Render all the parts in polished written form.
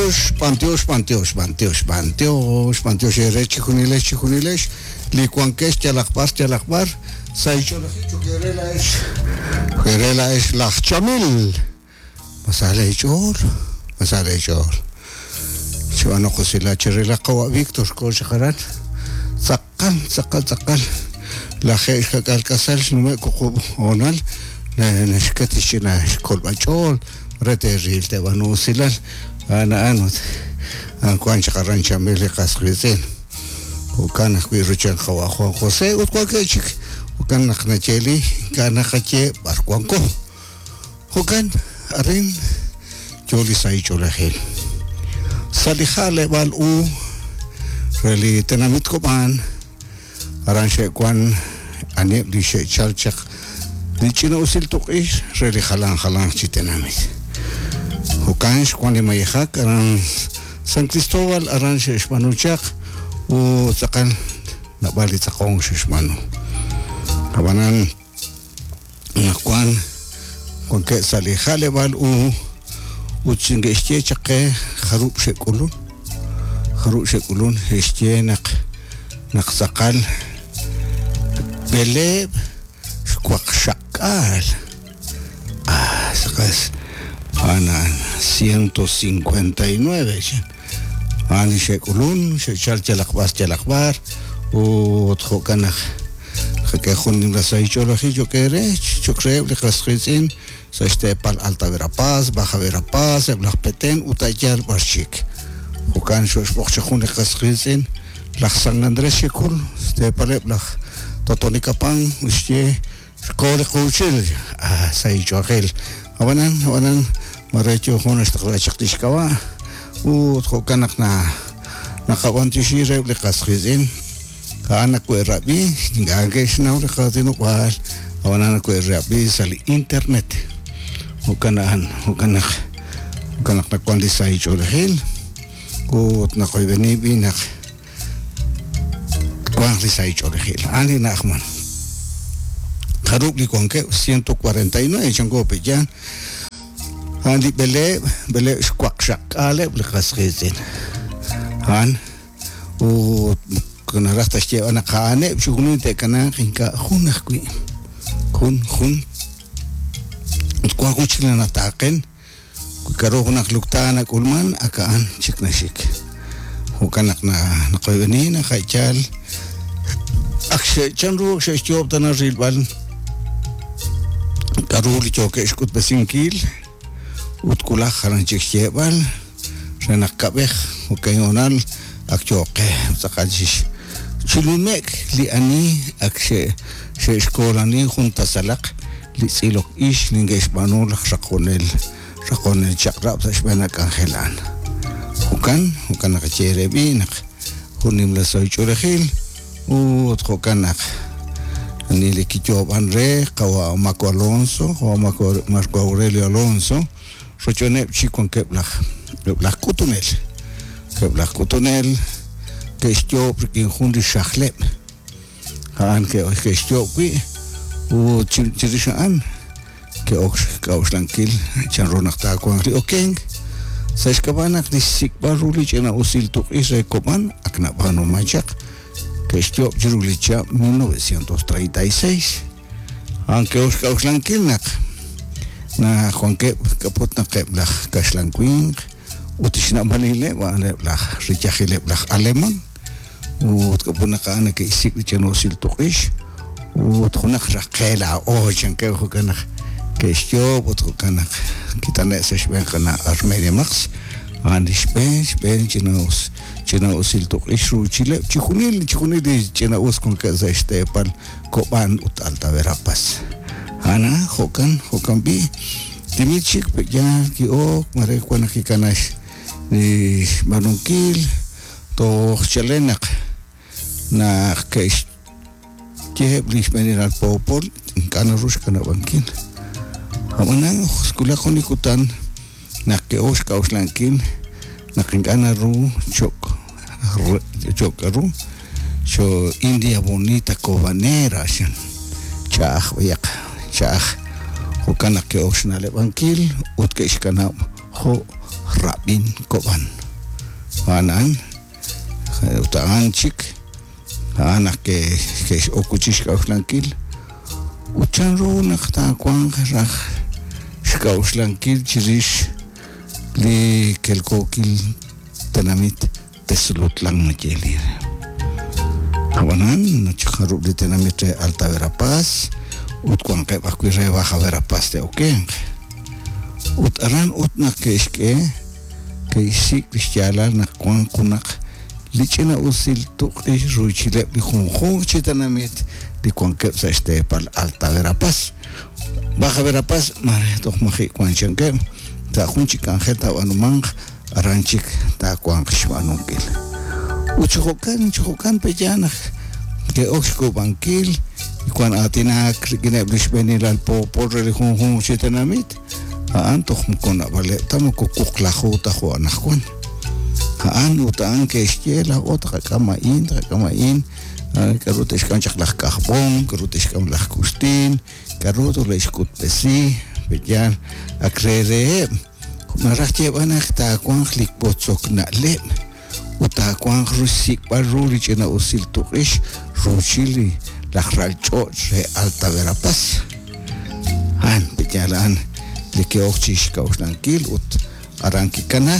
B'antiox, b'antiox, b'antiox, b'antiox, b'antiox, b'antiox eere chijunilex, chijunilex li wankex yalaq b'ar, yalaq b'ar, sa' xch'oolajil cho'q eere laa'ex, eere laa'ex laj Chamil. Ma sa leech'ool? Ma sa leech'ool? Chib'aanu usilal cheril laj qawa' Víctor xkoho chaq aran. Tz'aqal, tz'aqal, tz'aqal 70 k'asal xnume'k wuqub' hoonal naxket xch'ina xkolb'al ch'ool re teeril teeb'aanu usilal. A'an a'an ut a'an wank chaq aran Chamil li qas qiitz'in. Jo'kan ajwi' rochb'een qawa' Juan José ut wankeb' chik. Jo'kan naq nayeeli ink'a' naqaye b'ar wanko. Jo'kan arin yo li sahil ch'oolejil. Sa' li ja'leb'aal u re li tenamit Kob'an, aran xe'wan aniheb' li xe'chal chaq li ch'ina'usil tuq'ix re li jalan jalanq chi tenamit. Jo'kan xwan li mayejak aran San Cristóbal aran xe'xb'aanu chaq ut tz'aqal naab'al li tz'aqonk xe'xb'aanu. Ab'anan Anaqwan wankeb' sa' li ja'leb'aal u ut xinke'xye chaq qe jarub' xe'k'ulun, jarub' xe'k'ulun, xe'xye naq naq tz'aqal 760. Ah, tz'aqal a'an a'an 159 chan. A'an li xe'k'ulun, xe'chalk yalaq b'ar yalaq b'ar ut jo'kan naq Naqak'e jun nimla sahil ch'oolejil cho'q eere, cho'q reheb' li qas qiitz'in sa' xteepal Alta Verapaz, Baja Verapaz, eb' laj Petén ut a' yaal b'ar chik. Jo'kan xo'xb'oq chaq jun li qas qiitz'in, laj San Andrés Xecul, xteepaleb' laj Totonicapán, ut xye, Xko li quuchil, ah, sahil ch'oolejil. Ab'anan, ab'anan, mare yo jun naxtaqla chaq li xk'ab'a' ut jo'kan naq na naqab'antioxi reheb' li qas qiitz'in. A'an nawe'rab'i, ink'a' ke'xnaw li qaatinob'aal, ab'anan nawe'rab'i sa' li internet. Jo'kan a'an, jo'kan naq, jo'kan naq nawan li sahil ch'oolejil ut naqoyb'eni b'i naq twanq li sahil ch'oolejil. A'an li na'ajman. Jarub' li wankeb'? 149 chanko pe' yaal. A'an li b'eleeb', b'eleeb' xwaqxaqk'aaleb' li qas qiitz'in. A'an Ut moko naraj ta xyeeb'al naq a'aneb' chixjunil te'kanaaq, ink'a' jun ajwi'. Jun, jun. Ut wank jun chik li nataaqen, wi k'aru junaq lukta nak'ulman, ak a'an chik naxik. Jo'kan naq naqoyb'eni naq a' yaal ak chanru ak xe'xyoob' tana rilb'al k'aru li yookeb' xk'utb'esinkil ut wulaj jalan chik xyeeb'al. Re naq kab'ej jo'kan hoonal ak yooq qe tz'aqal chi chi nume'k li ani ak xe'xkoolani jun tasalaq li tz'ilok ix li neke'xb'aanu laj raqonel raqonel chaq'rab' sa' xb'een a k'anjel a'an. Jo'kan, jo'kan naqaye eere b'i' naq jun nimla sahil ch'oolejil ut jo'kan naq ani li kiyoob'an re qawa' Marco Alonso, qawa' Marco Aurelio Alonso, Rochb'eeneb' chik wankeb' laj eb' laj k'utunel. Eb' laj k'utunel ke'xyoob' rik'in jun li xajleb'. A'an ke'xyoob' wi' ut chirix a'an ke'ok xk'a'uxlankil chanru naq taawanq li okenk. Sa' xk'ab'a' naq li xsik'b'al ru li ch'ina'usil tuq'ix re Kob'an ak nab'aanuman chaq, ke'xyoob' chiru li chihab' 1936. A'an ke'ok xk'a'uxlankil naq naq wankeb' k'aput naq eb' laj kaxlan winq ut xna'b'alileb' a'aneb' laj riyajileb' laj Aleman ut k'aput naq a'an neke'xsik' li ch'ina'usil tuq'ix ut junaq raj qe laa'o chankeb' jo'kan naq ke'xyoob' ut jo'kan naq kitane' sa' xb'een qana' Armelia Max a'an li xb'een xb'een ch'ina'us ch'ina'usil tuq'ix ruuchileb' chijunil chijunil li ch'ina'us wankeb' sa' xteepal Kob'an ut Alta Verapaz. A'an a'an, jo'kan, jo'kan b'i', timil chik pe' yaal ki'ok, mare wan naq kikana li xb'aanunkil, toj chalen naq naq ke'xyeheb' li xb'eenilal poopol ink'a' naru xkanab'ankil. Ab'anan xwulak jun li kutan naq ke'ok xk'a'uxlankil naq ink'a' naru cho'q cho'q k'aru Cho India Bonita Cobanera xan ch'a'aj b'ayaq ch'a'aj jo'kan naq ke'ok xna'leb'ankil ut ke'xkanab' jo' Rab'in Kob'an. A'an a'an, ut a'an chik, a'an naq ke'x'ok wi' chik xk'a'uxlankil ut chanru naq taawanq raj xk'a'uxlankil chirix li kelkookil tenamit Tezulutlán nayeeli re. Ab'anan, jarub' li tenamit re Alta Verapaz ut wanqeb' ajwi' re Baja Verapaz te'okenq. Ut aran ut naq ke'xk'e, ke'xsik' li xyaalal naq wank junaq li ch'ina'usil tuq'ix ruuchileb' li junjunq chi tenamit li wankeb' sa' xteepal Alta Verapaz. Baja Verapaz mare toj maji' wank chankeb', sa' jun chik k'anjel taab'aanumanq aran chik taawanq xb'aanunkil. Ut chi jo'kan, chi jo'kan pe'yaal naq ke'ok xk'uub'ankil, wan aatinak rik'ineb' li xb'eenilal poopol re li junjunq chi tenamit, a'an toj moko naab'aleb' ta, moko wuqlaju ta jo' anaqwan. A'an ut a'an ke'xye laa'o taqak'am a'in, taqak'am a'in, k'a'ru te'xk'am chaq laj K'ajb'om, k'a'ru te'xk'am laj Kuxtin, k'a'ru tole'xk'utb'esi, pe'yaal ak re reheb'. Naraj xyeeb'al naq taawanq li wotzok na'leb' ut taawanq ru xsik'b'al ru li ch'ina'usil tuq'ix ruuchil li laj ral ch'och' re Alta Verapaz. A'an, pe'yaal a'an li ke'ok chi xk'a'uxlankil ut aran kikana.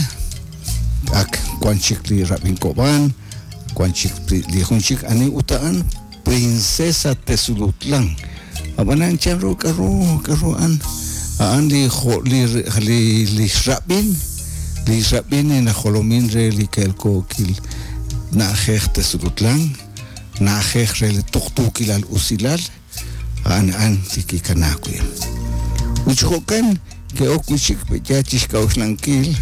Ak wan chik li Rab'in Kob'an, wan chik li jun chik ani ut a'an Princesa Tezulutlán. Ab'anan chanru k'aru k'aru a'an? A'an li jo' li li li xrab'in li xrab'in li najolomin re li kelkookil na'ajej Tezulutlán, na'ajej re li tuqtuukilal usilal, a'an a'an li kikana wi'. Ut chi jo'kan ke'ok wi' chik pe'yaal chi xk'a'uxlankil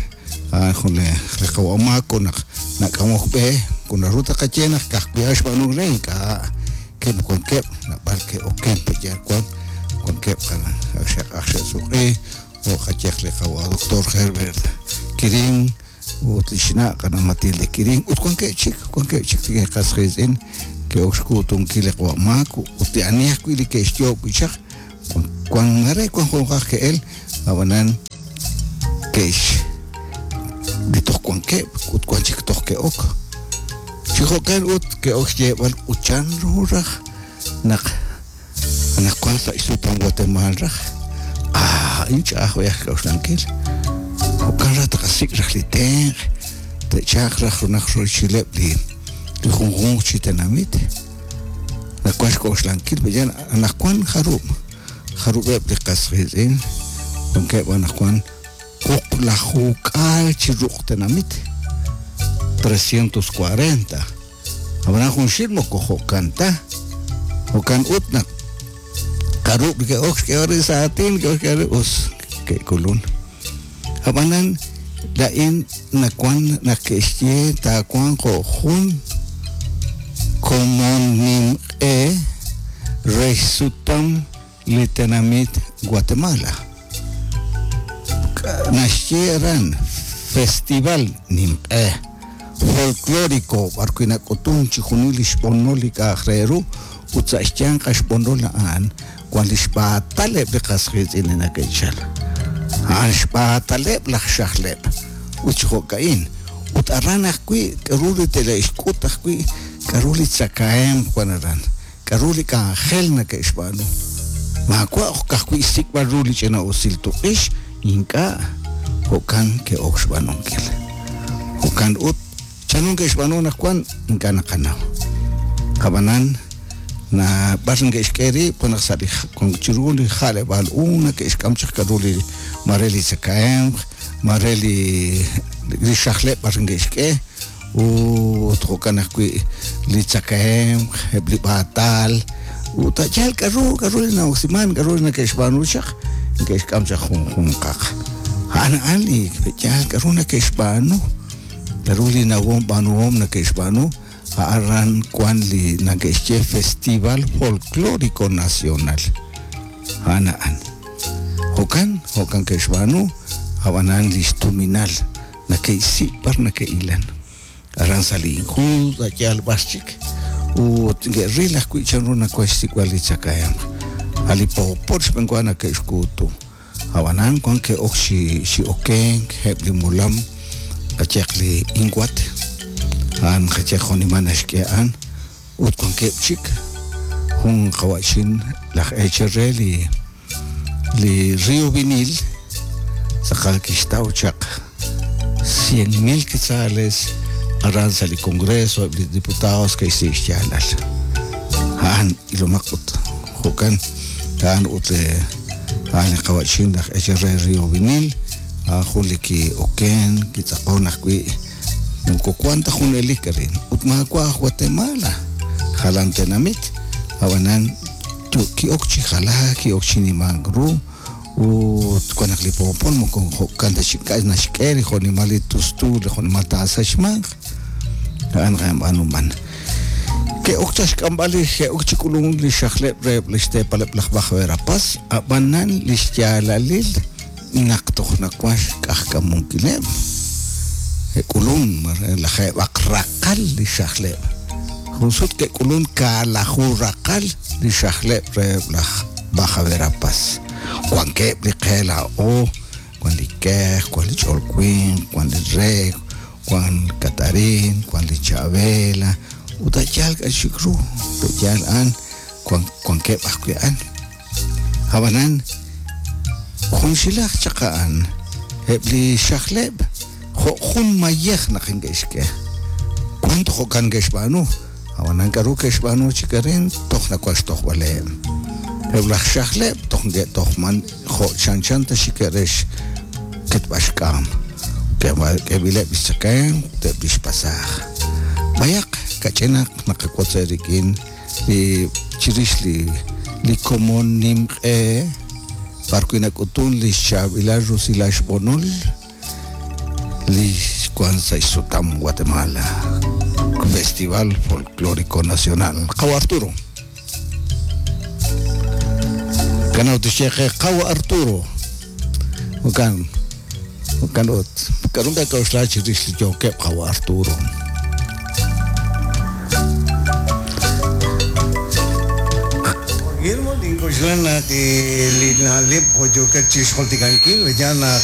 a'an jun li li qawa' Maco naq nak'amok b'e, moko naru ta qaye naq ka'ajwi' a'an xb'aanunk re, ink'a' keb' wankeb' naab'al ke'oken pe'yaal wan wankeb' ak xe'suq'i jo' qayehaq li qawa' doctor Herbert Quirín ut li xna' qana' Matilde Quirín ut wankeb' chik wankeb' chik li qas qiitz'in ke'ok xkuutunkil li qawa' Maco ut li ani ajwi' li ke'xyoob' wi' chaq wan mare wan junqaq ke'el ab'anan ke'x li toj wankeb' ut wan chik toj ke'ok chi jo'kan ut ke'ok xyeeb'al ut chan ru raj naq anaqwan sa' xsutam Guatemaal raj ah a'in ch'a'aj b'ayaq xk'a'uxlankil jo'kan raj taqasik' raj li tenq' te'chalq raj junaq ruuchileb' li li junjunq chi tenamit nawan xk'oxlankil pe'yaal anaqwan jarub' jarub'eb' li qas qiitz'in wankeb' anaqwan wuqlajuk'aal chi ruq' tenamit 340 ab'anan junxil moko jo'kan ta jo'kan ut naq jarub' li ke'ok xk'eeb'al rib' sa' aatin ke'ok xk'eeb'al rib' us ke'kulun ab'anan laa'in nawan naq ke'xye taawanq jo' jun komon nimq'e re xsutam li tenamit Guatemala. Naxye aran Festival Nimq'e Folklórico b'arwi' nak'utun chixjunil li xb'onol li k'a'aq re ru ut sa' xyanq a xb'onol a'an wan li xb'aatal eb' li qas qiitz'in li nake'chal. A'an xb'aataleb' laj xajleb' ut chi jo'ka'in. Ut aran ajwi' k'aru li tele'xk'ut ajwi' k'aru li tzakahemq wan aran, k'aru li k'anjel nake'xb'aanu. Maawa' ka'ajwi' xsik'b'al ru li ch'ina'usil tuq'ix, ink'a' jo'kan ke'ok xb'aanunkil. Jo'kan ut, Chanru neke'xb'aanu anaqwan? Ink'a' naqanaw. Ab'anan, naab'al neke'xk'e rib' wan naq sa' li chiru li ja'leb'aal u neke'xk'am chaq k'aru li mare li tzakahemq, mare li li xajleb' b'ar neke'xk'e ut jo'kan ajwi' li tzakahemq, eb' li b'aatal ut a' yaal k'aru k'aru li na'oksimank, k'aru li neke'xb'aanu chaq, neke'xk'am chaq junjunqaq. A'an a'an li yaal k'aru neke'xb'aanu. K'aru li nawom b'aanuhom nake'xb'aanu? Aran wan li nake'xye Festival Folklórico Nacional. A'an a'an. Jo'kan, jo'kan ke'xb'aanu, ab'anan li xtuminal nake'xsik' b'ar nake'ilan. Aran sa' li Injud, a' yaal b'ar chik. Ut neke'ril ajwi' chanru nawank xsik'b'al li tzakahemq. A' li poopol xb'enwa nake'xkuutu. Ab'anan wan ke'ok chi chi okenk eb' li molam. Qayehaq li INGUAT, a'an qayehaq jo'nimal naxk'e a'an, ut wankeb' chik jun qawa'chin laj eechal re li li Rio Vinil tz'aqal kixtaw chaq 100,000 quetzales aran sa' li Congreso eb' li diputados ke'xsik' xyaalal. A'an ilomaq ut jo'kan a'an ut li a'an li qawa'chin laj eechal re Rio Vinil a'an jun li ki'oken kitz'aqon ajwi' moko wan ta junelik arin ut maawa' aj Guatemala jalan tenamit ab'anan ki'ok chi jalaak ki'ok chi nimank ru ut wan naq li poopol moko jo'kan ta chik k'a' naxk'e li jo'nimal li tustu li jo'nimal taasachmanq a'an b'aanuman ke'ok chaq xk'amb'al li ke'ok chi k'ulunk li xajleb' reheb' li xteepaleb' laj Baja Verapaz ab'anan li xyaalalil naq toj nawan xk'ajk'amunkileb' ke'k'ulun lajeeb'aq raqal li xajleb' jun sut ke'k'ulun kaalaju raqal li xajleb' reheb' laj Baja Verapaz wankeb' li qe laa'o wan li kej wan li ch'ol winq wan li rek wan Katarin wan li Chavela ut a' yaal k'a' chik ru pe'yaal a'an wankeb' ajwi' a'an ab'anan junxilaj chaq a'an eb' li xajleb' jo' jun mayej naq neke'xk'e wan toj jo'kan ke'xb'aanu ab'anan k'a'ru ke'xb'aanu chik arin toj nawan xtojb'aleb' eb' laj xajleb' toj neke'tojman jo' chanchan ta xikeb' re xketb'al xk'am k'eb'ileb' li xtzakemq ut eb' li xpasaaj b'ayaq kach'inaq naqawotz eerik'in li chirix li li komon nimq'e b'ar wi' nak'utun li xchaab'ilal rusilal xb'onol li wan sa' xsutam Guatemala Festival Folclórico Nacional Qawa Arturo kanaw tixye qe Qawa Arturo jo'kan jo'kan ut k'a'ru nakak'oxla chirix li yookeb' Qawa Arturo Guillermo nink'oxla naq li na'leb' jo' yookat chixjultikankil yaal naq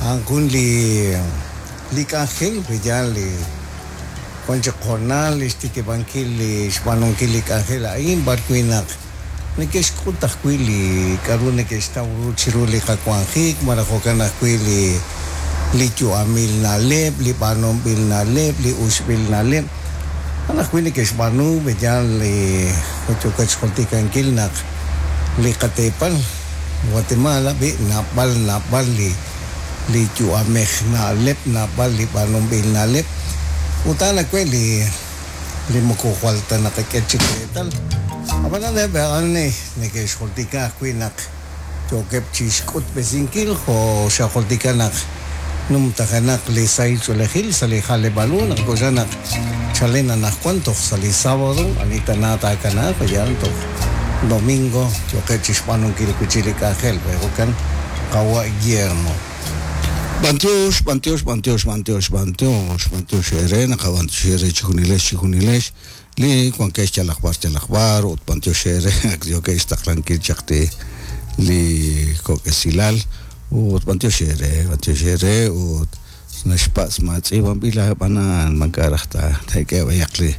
a'an jun li li k'anjel yaal li wan chaq hoonal li xtikib'ankil li xb'aanunkil li k'anjel a'in b'ar wi' naq neke'xk'ut ajwi' li k'a'ru neke'xtaw ru chiru li qawanjik malaj jo'kan ajwi' li li yu'amil na'leb' li b'aanunb'il na'leb' li uxb'il na'leb' a'an ajwi' neke'xb'aanu yaal li jo' yookat xjultikankil naq li qateepal Guatemala b'i' naab'al naab'al li li yu'amej na'leb' naab'al li b'aanunb'il na'leb' ut a'an ajwi' li li moko jwal ta naqak'e chik reetal ab'anan eb' a'an neke'xjultika ajwi' naq yookeb' chixk'utb'esinkil jo' xajultika naq numtajenaq li sahil ch'oolejil sa' li ja'leb'aal u naq k'oxla naq chalen anaqwan toj sa' li sábado ani tana taakanaaq yaal toj domingo yooqeb' chixb'aanunkil wi' li k'anjel jo'kan Qawa' Guillermo B'antiox, b'antiox, b'antiox, b'antiox, b'antiox, b'antiox eere naqab'antiox eere chijunilex chijunilex li wankex yalaq b'ar yalaq b'ar ut b'antiox eere ak yookeb' xtaqlankil chaq li li kok' esilal ut b'antiox eere b'antiox eere ut naxpatz' ma tz'iib'anb'il ab'anan man k'a' raj ta taak'e b'ayaq li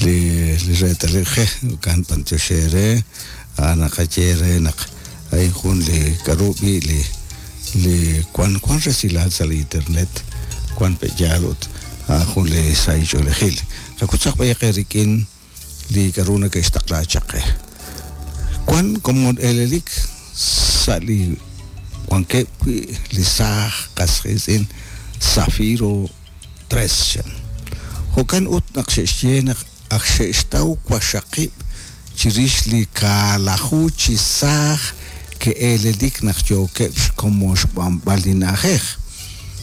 li li reetalil je jo'kan b'antiox eere a'an naqaye re naq a'in jun li k'a'ru b'i' li li wan wan resilal sa' li internet wan pe'yaal ut a'an jun li sahil ch'oolejil qakutzaq b'ayaq eerik'in li k'a'ru neke'xtaqla chaq qe wan komon elelik sa' li wankeb' wi' li saaj qas qiitz'in Zafiro 3 chan jo'kan ut naq xe'xye naq ak xe'xtaw waxaqib' chirix li kaalaju chi saaj ke'elelik naq yookeb' xkomon xb'anb'al li na'ajej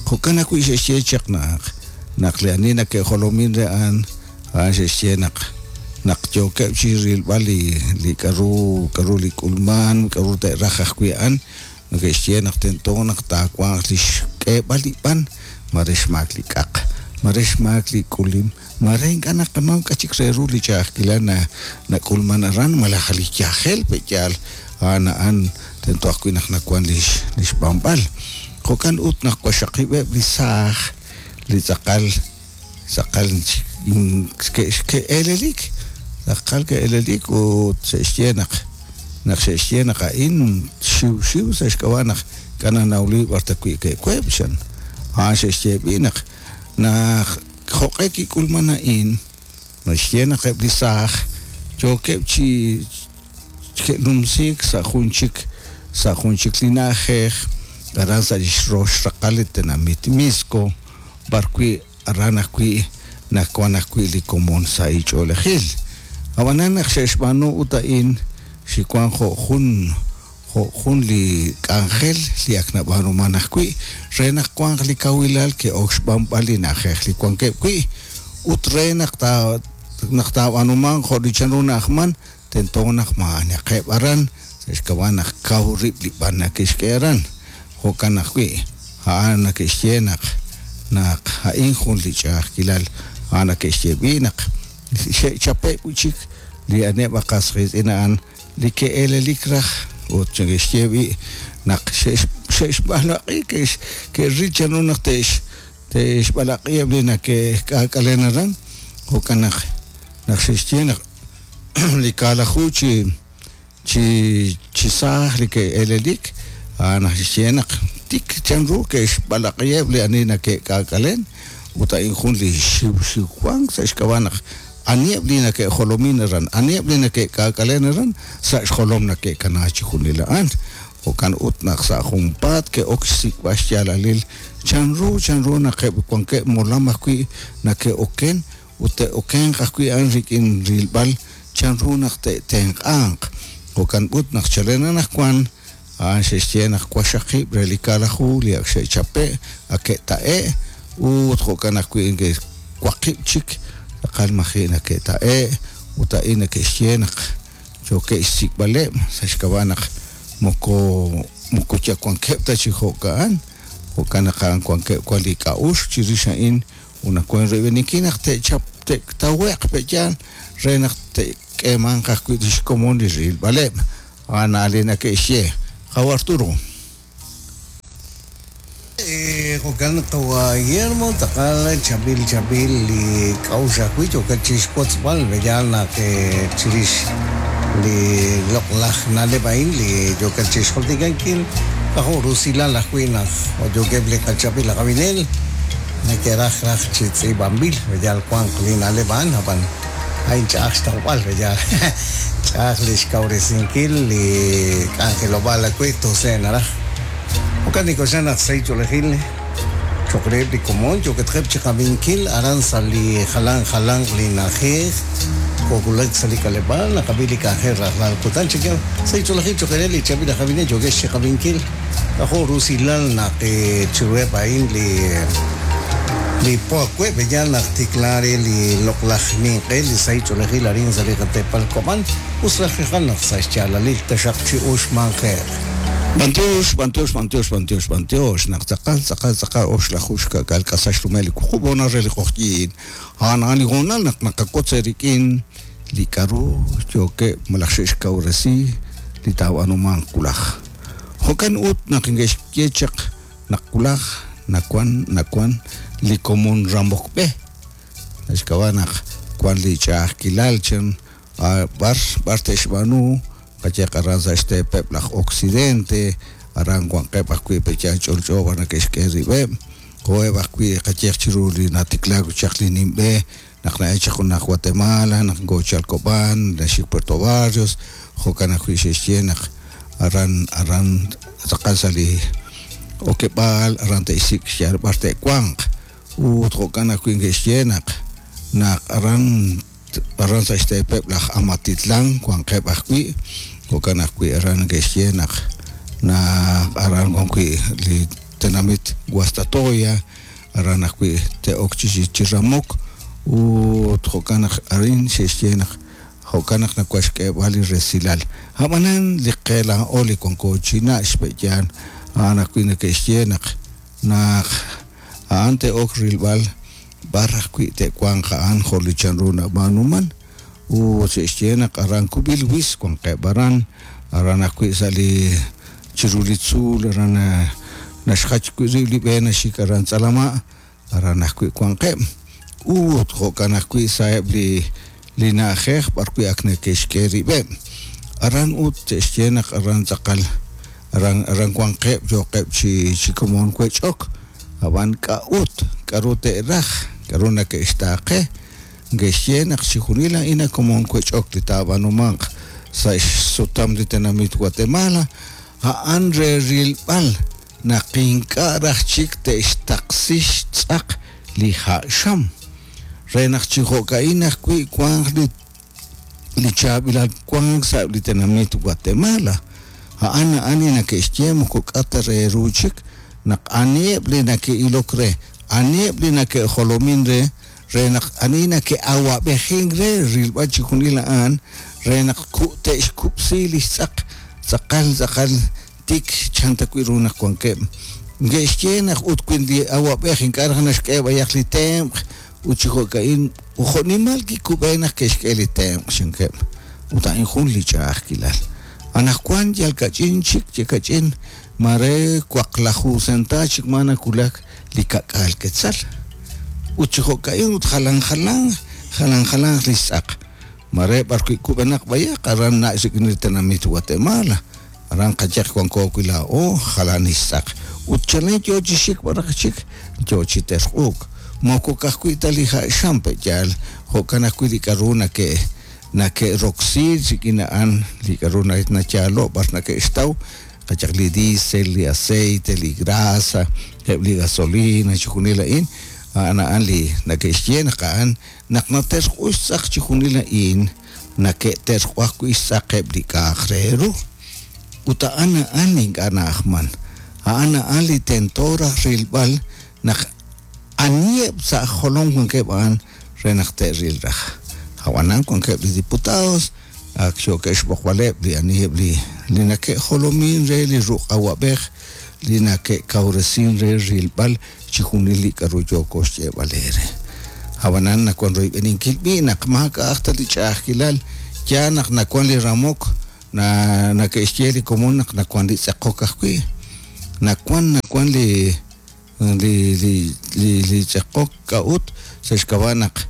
jo'kan ajwi' xe'xye chaq naq naq li ani nake'jolomin re a'an a'an xe'xye naq naq yookeb' chi rilb'al li li k'a'ru k'a'ru li k'ulman k'a'ru te'raj ajwi' a'an neke'xye naq tento naq taawanq li xk'eeb'al li b'an mare xmaak li k'aq mare xmaak li k'ulim mare ink'a' naqanaw k'a' chik re ru li ch'a'ajkilal na nak'ulman aran malaj li yajel pe'yaal a'an a'an tento ajwi' naq nawan li li xb'anb'al Jo'kan ut naq waxaqib'eb' li saaj li tz'aqal tz'aqal ke'eelelik tz'aqal ke'eelelik ut xe'xye naq naq xe'xye naq a'in xiwxiw sa' xk'ab'a' naq ink'a' nanawli b'ar ta wi' ke'web' chan. A'an xe'xye b'i' naq naq jo'q'e kik'ulman a'in naxye naq eb' li saaj yookeb' chi ke'numsiik sa' jun chik sa' jun chik li na'ajej aran sa' li xrox raqal li tenamit Mixco b'ar wi' aran ajwi' naq wan ajwi' li komon sa' ch'oolejil. Ab'anan naq xe'xb'aanu ut a'in xiwan jo' jun jo' jun li k'anjel li ak nab'aanuman ajwi' re naq wanq li kawilal ke'ok xb'anb'al li na'ajej li wankeb' wi' ut re naq ta naq taab'aanumanq jo' li chanru na'ajman tento naq ma'anaqeb' aran sa' xk'ab'a' naq kaw rib' li b'an nake'xk'e aran. Jo'kan ajwi' a'an nake'xye naq naq a'in jun li ch'a'ajkilal a'an nake'xye b'i' naq xe'chape' wi' chik li aneb' qas qiitz'in a'an li ke'eelelik raj ut neke'xye b'i' naq xe'xb'alaq'i ke'ril chanru naq te'xb'alaq'iheb' li nake'k'aak'alen aran. Jo'kan naq naq xe'xye naq li kaalaju chi chi chi saaj li ke'eelelik a'an naxye naq tik chanru ke'xb'alaq'iheb' li ani nake'k'aak'alen ut a'in jun li xiwxiwank sa' xk'ab'a' naq aniheb' li nake'jolomin aran aniheb' li nake'k'aak'alen aran sa' xjolom nake'kana chi junil a'an. Jo'kan ut naq sa' junpaat ke'ok xsik'b'al xyaalalil chanru chanru naq eb' wankeb' molam ajwi' nake'oken ut te'okenq ajwi' a'an rik'in rilb'al chanru naq te'tenq'anq. Jo'kan ut naq chalen anaqwan a'an xe'xye naq waxaqib' re li kaalaju li ak xe'chape' ak ke'ta'e' ut jo'kan ajwi' waqib' chik tz'aqal maji' nake'ta'e' ut a'in nake'xye naq yookeb' xsik'b'aleb' sa' xk'ab'a' naq moko moko yal wankeb' ta chi jo'ka'an. Jo'kan naq a'an wankeb' wan li k'a'uxl chirix a'in ut naq wan royb'eninkil naq te'chap te'tawe'q pe'yaal re naq te'k'eemanq ajwi' li xkomon li rilb'aleb'. A'an li nake'xye. Qaw Arturo. Jo'kan qawa Guillermo tz'aqal chaab'il chaab'il li k'a'uxl ajwi' yookeb' chixwotzb'al yaal naq chirix li loq'laj na'leb' a'in li yookeb' chixjultikankil k'ajo' rusilal ajwi' naq yookeb' li qachaab'il aj ab'inel neke'raj raj chi tz'iib'anb'il yaal wanq li na'leb' a'an ab'an a'in ch'a'aj xtawb'al yaal ch'a'aj li xkawresinkil li k'anjelob'aal ajwi' tose' naraj. Jo'kan nik'oxla naq sa' ch'oolejil cho'q reheb' li komon yookatqeb' chi qab'inkil aran sa' li jalan jalanq li na'ajej k'okulak sa' li k'aleb'aal naqab'i li k'anjel rajlal kutan chik sa' ch'oolejil cho'q re li chaab'il aj ab'inel yookex chi qab'inkil k'ajo' rusilal naq chiruheb' a'in li li po ajwi' yaal naq tikla re li loq'laj ninq'e li sa' ch'oolejil arin sa' li qateepal Kob'an us raj rijal naq sa' xyaalalil taxaq chi uxmanje'q. B'antiox, b'antiox, b'antiox, b'antiox, b'antiox. Naq tz'aqal, tz'aqal, tz'aqal oxlaju xka'k'aal k'asal xrumel li wuqub' honal re li q'oqyiin. A'an a'an li hoonal naq naqawotz eerik'in li k'a'ru yookeb' malaj xe'xkawresi li taab'aanumanq wulaj. Jo'kan ut naq neke'xye chaq naq wulaj nawan nawan li komon ramok b'e. Xk'ab'a' naq wan li ch'a'ajkilal chan b'ar b'ar te'xb'aanu qayeq aran sa' xteepeb' laj Occidente aran wanqeb' ajwi' pe'yaal ch'olch'o b'ar nake'xk'e rib'eb' jo'eb' ajwi' qayeq chiru li natiklaak chaq li nimb'e naq na'el chaq junaq Guatemala naq ngochal Kob'an naxik Puerto Barrios jo'kan ajwi' xe'xye naq aran aran tz'aqal sa' li okeb'aal aran te'xsik' xyaal b'ar te'wanq ut jo'kan ajwi' neke'xye naq naq aran aran sa' xteepeb' laj Amatitlán wanqeb' ajwi' jo'kan ajwi' aran neke'xye naq naq aran wan wi' li tenamit Guastatoya aran ajwi' te'ok chi chi ramok ut jo'kan naq arin xe'xye naq jo'kan naq nawan xk'eeb'al li resilal. Ab'anan li qe laa'o li wanko chi nach' xpe'yaal a'an ajwi' neke'xye naq naq a'an te'ok rilb'al b'ar ajwi' te'wanq a'an jo' li chanru nab'aanuman ut xe'xye naq aran kub'il wis wanqeb' aran aran ajwi' sa' li chiru li tzuul aran. naxjach wi' rib' li b'e naxik aran Tz'alama', aran ajwi' wanqeb'. Ut jo'kan ajwi' sa'eb' li li na'ajej b'arwi' ak neke'xk'e rib'eb'. Aran ut te'xye naq aran tz'aqal aran aran wanqeb' yooqeb' chi chi komon wech'ok. Ab'an k'a'ut, k'aru te'raj, k'aru nake'xtaaqe, neke'xye naq chixjunil a'in a komon wech'ok li taab'aanumanq sa' xsutam li tenamit Guatemala, a'an re rilb'al naq ink'a' raj chik te'xtaqsi xtz'aq li ha' xam, re naq chi jo'ka'in ajwi' wanq li li chaab'ilal wank sa' li tenamit Guatemala. A'an a'an li nake'xye moko k'a ta re ru chik naq aniheb' li nake'ilok re, aniheb' li nake'jolomin re, re naq ani nake'awab'ejink re rilb'al chixjunil a'an, re naq te'xkub'si li xtz'aq tz'aqal tz'aqal tik chan ta wi' ru naq wankeb'. Neke'xye naq ut wi li awab'ej ink'a' raj naxk'e b'ayaq li tenq' ut chi jo'ka'in jo'nimal kikub'e naq ke'xk'e li tenq' chankeb'. Ut a'in jun li ch'a'ajkilal. Anaqwan yal kach'in chik, yal kach'in mare waqlaju senta chik ma nawulak li ka'k'aal quetzal. Ut chi jo'ka'in ut jalan jalan, jalan jalanq li xtz'aq. Mare b'arwi' kub'enaq b'ayaq aran nach' rik'in li tenamit Guatemala. Aran qayehaq wanko wi' laa'o jalan li xtz'aq. Ut chalen yo chi xik b'araq chik, yo chi terq'uuk. Moko ka'ajwi' ta li ha' xam pe'yaal, jo'kan ajwi' li k'aru nake' nake'roksi rik'in a'an li k'aru nayaalo' b'ar nake'xtaw, qayehaq li diésel, li aceite, li grasa, eb' li gasolina, chixjunil a'in, a'an a'an li nake'xye naq a'an naq naterq'u xtz'aq chixjunil a'in, nake'terq'u ajwi' xtz'aqeb' li k'a'aq re ru. Ut a'an a'an li ink'a' na'ajman. A'an a'an li tento raj rilb'al naq aniheb' sa' jolom wankeb' a'an re naq te'ril raj. Ab'anan wankeb' li diputados ak yookeb' xb'oqb'aleb' li aniheb' li li nake'jolomin re li ruq' awab'ej li nake'kawresin re rilb'al chixjunil li k'aru yooko xyeeb'al eere. Ab'anan nawan royb'eninkil b'i' naq maak'a'aq ta li ch'a'ajkilal, yaal naq nawan li ramok, na nake'xye li komon naq nawan li tz'eqok ajwi'. Nawan nawan li li li li li tz'eqok k'a'ut sa' xk'ab'a' naq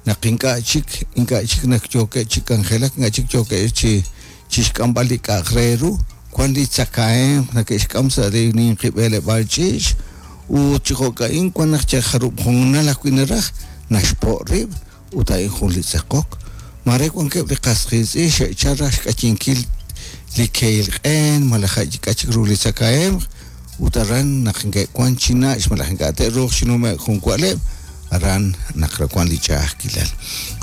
naq ink'a' chik ink'a' chik naq yookeb' chi k'anjelak, ink'a' chik yookeb' chi chi xk'amb'al li k'a'aq re ru, wan li tzakahemq nake'xk'am sa' li ninqi b'eleb'aal ch'iich' ut chi jo'ka'in wan naq yal jarub' hoonal ajwi' naraj naxpo' rib' ut a'in jun li tz'eqok. Mare wankeb' li qas qiitz'in xe'chal raj xk'ayinkil li kehil q'een malaj k'a' chik ru li tzakahemq ut aran naq neke'wan chi nach' malaj ink'a' te'ruuq chi nume'k jun wa'leb', aran naq wan li ch'a'ajkilal.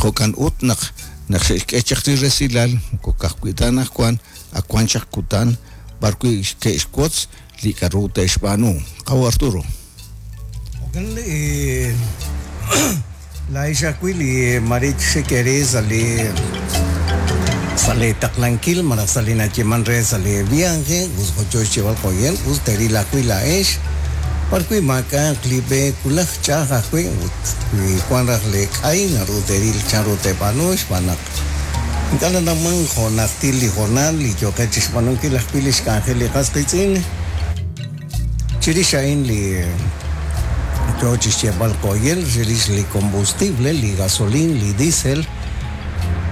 Jo'kan ut naq naq xe'xk'e chaq li resilal moko ka'ajwi' ta anaqwan, ak wan chaq kutan b'arwi' ke'xwotz li k'aru te'xb'aanu. Qawa' Arturo. Jo'kan li laa'ex ajwi' li mare xik eere sa' li sa' lee taqlankil malaj sa' li nayeeman re sa' lee viaje, us jo' yoo xyeeb'al qoyel, us teeril ajwi' laa'ex b'arwi' maak'a'aq li b'e wulaj ch'a'aj ajwi' ut wi wan raj lee k'ay naru teeril chanru teeb'aanu xb'aan naq ink'a' nanawman jo' najtil li hoonal li yooqeb' chixb'aanunkil ajwi' lix k'anjel li qas qiitz'in. Chirix a'in li yoo chixyeeb'al qoyel chirix li combustible, li gasolin, li diesel,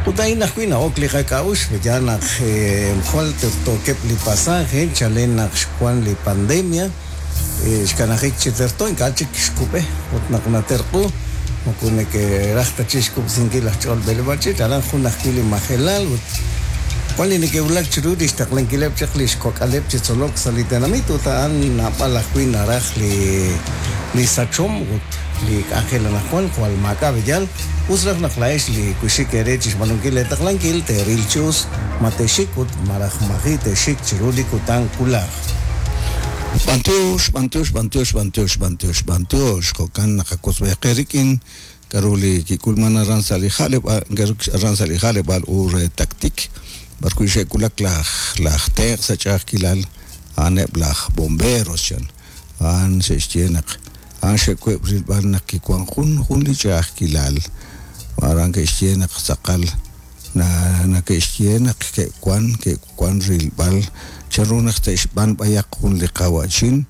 ut a'in ajwi' na'ok li qak'a'uxl, yaal naq jwal tertookeb' li pasaje chalen naq xwan li pandemia, xkanajik chi terto ink'a' chik xkub'e ut naq naterq'u moko neke'raj ta chik xkub'sinkil laj ch'ol b'eleb'aal ch'iich', aran jun ajwi' li majelal ut wan li neke'wulak chiru li xtaqlankileb' chaq li xkok'aleb' chi tzolok sa' li tenamit ut a'an naab'al ajwi' naraj li li sachom ut li k'anjel anaqwan jwal maak'a' b'eyal. Us raj naq laa'ex li kuxik eere chi xb'aanunkil leetaqlankil teeril chi us ma te'xik ut malaj maji' te'xik chiru li kutan wulaj. B'antiox, b'antiox, b'antiox, b'antiox, b'antiox, b'antiox. Jo'kan naqawotzb'e qe rik'in k'aru li kik'ulman aran sa' li ja'leb'aal aran sa' li ja'leb'aal u re Tactic, b'arwi' xe'wulak laj laj tenq' sa' ch'a'ajkilal, a'aneb' laj bomberos chan. A'an xe'xye naq a'an xe'web' rilb'al naq kiwan jun jun li ch'a'ajkilal. Aran ke'xye naq tz'aqal na nake'xye naq ke'wan ke'wan rilb'al chanru naq te'xb'an b'ayaq jun li qawa'chin.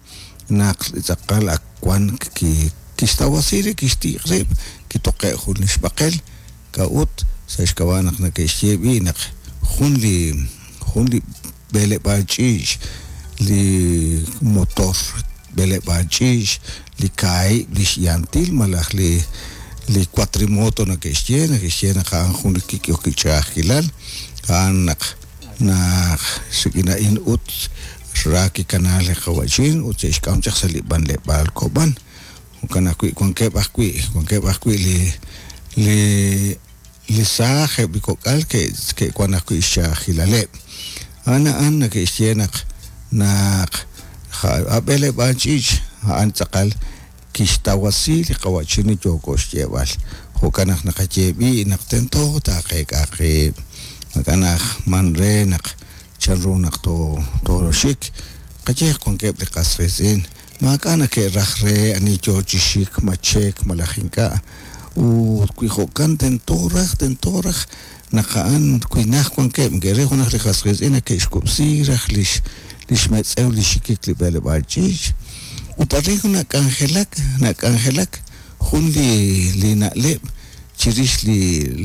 naq tz'aqal ak wan kixtawasi rib', kixtiq rib', kitoqe' jun li xb'aqel, k'a'ut sa' xk'ab'a' naq nake'xye b'i' naq jun li jun li b'eleb'aal ch'iich' li motor b'eleb'aal ch'iich' li kaahib' li xyantil malaj li li cuatrimoto nake'xye, nake'xye naq a'an jun li kik'ehok ch'a'ajkilal, a'an naq naq rik'in a'in ut ra kikana li qawa'chin ut xe'xk'am chaq sa' li b'anleb'aal Kob'an. Jo'kan ajwi' wankeb' ajwi' wankeb' ajwi' li li li saaj eb' li kok'al ke'wan ajwi' xch'a'ajkilaleb'. A'an a'an nake'xye naq naq a b'eleb'aal ch'iich' a'an tz'aqal kixtawasi li qawa'chin li yooko xyeeb'al. Jo'kan naq naqaye b'i' naq tento taaqeek'a qib'. Jo'kan naq man re naq chanru naq tooxik, qayehaq wankeb' li qas qiitz'in maak'a' nake'raj re ani yoo chi xik, ma cheek malaj ink'a'. Ut wi jo'kan tento raj, tento raj naq a'an wi najt wankeb' neke'ril junaq li qas qiitz'in nake'xkub'si raj lix lix metz'ew li xikik li b'eleb'aal ch'iich'. Ut arin nak'anjelak, nak'anjelak jun li li na'leb' chirix li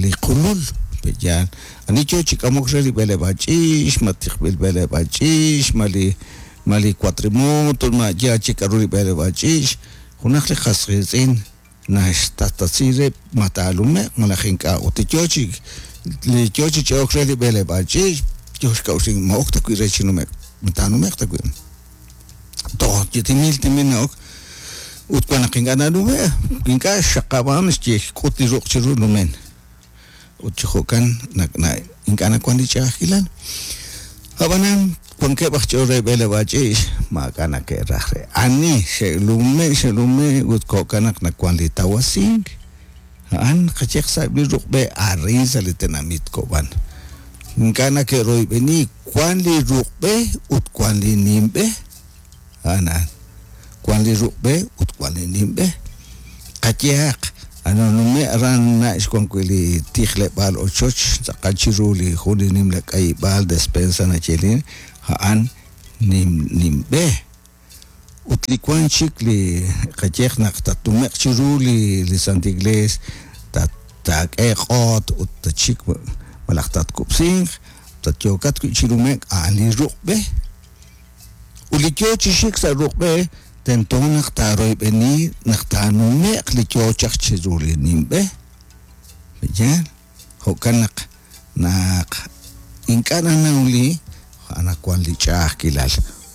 li qulul, pe'yaal? Ani yoo chi k'amok re li b'eleb'aal ch'iich', ma tiqb'il b'eleb'aal ch'iich', ma li ma li cuatrimoto, ma yaal chik k'a'ru li b'eleb'aal ch'iich', junaq li qas qiitz'in naxtatasi rib' ma taalume'q malaj ink'a'. Ut li yoo chi li yoo chi ch'e'ok re li b'eleb'aal ch'iich' yoo xk'a'uxl ma ok ta wi' re chi nume'k, ma taanume'q ta wi'. Toj timil timil na'ok ut wan naq ink'a' nanume', ink'a' xxaqab'an xye xk'ut li ruq' chiru numen. Ut chi jo'kan ink'a' nawan li ch'a'ajkilal. Ab'anan wankeb' aj ch'ol re b'eleb'aal ch'iich' maak'a' nake'raj re. Ani xe'lume' xe'lume' ut jo'kan naq nawan li tawasink. A'an qayehaq sa'eb' li ruq'b'e arin sa' li tenamit Kob'an. Ink'a' nake'royb'eni wan li ruq'b'e ut wan li nimb'e. A'an a'an. Wan li ruq'b'e ut wan li nimb'e. Qayehaq, ananume' aran nach' wan wi' li tijleb'aal ochoch tz'aqal chiru li jun li nimla k'ayib'aal despensa nayeelin, a'an nim nimb'e. Ut li wan chik li qayehaq naq tatnume'q chiru li li Santa Iglees, taak'e q'oot ut tatxik malaj tatkub'sinq, tatyookat wi' chi nume'k, a'an li ruq'b'e. Ut li yoo chi xik sa' ruq'b'e, tento naq taaroyb'eni naq taanume'q li yoo chaq chiru li nimb'e. Pe'yaal? Jo'kan naq naq ink'a' nanaw li wan li ch'a'ajkilal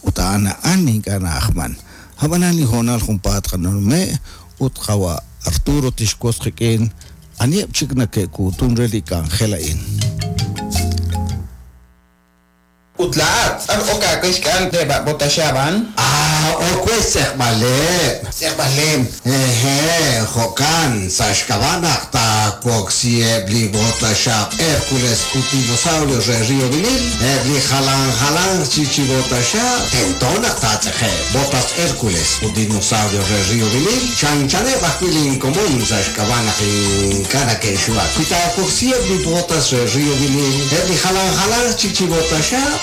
ut a'an a'an ink'a' na'ajman. Ab'anan li hoonal junpaat qanume' ut qawa' Arturo tixwotz qik'in aniheb' chik nake'kuutun re li k'anjel a'in. Ut laa'at, b'ar ok aawe xk'al eb' a bota xab'an? Ah, ok we xtz'eqb'aleb'. Xtz'eqb'aleb'. Hehe', jo'kan, sa' xk'ab'a' naq taawoksi eb' li bota xaab' Hércules ut Dinosaurios re Río Vinil, eb' li jalan jalanq chi chi bota xaab' tento naq taatz'eqeb'. Botas Hércules ut Dinosaurios re Río Vinil chanchaneb' ajwi' linkomon sa' xk'ab'a' naq ink'a' nake'xuwak. Wi taawoksi eb' li botas re Río Vinil, eb' li jalan jalanq chik chi bota xaab'.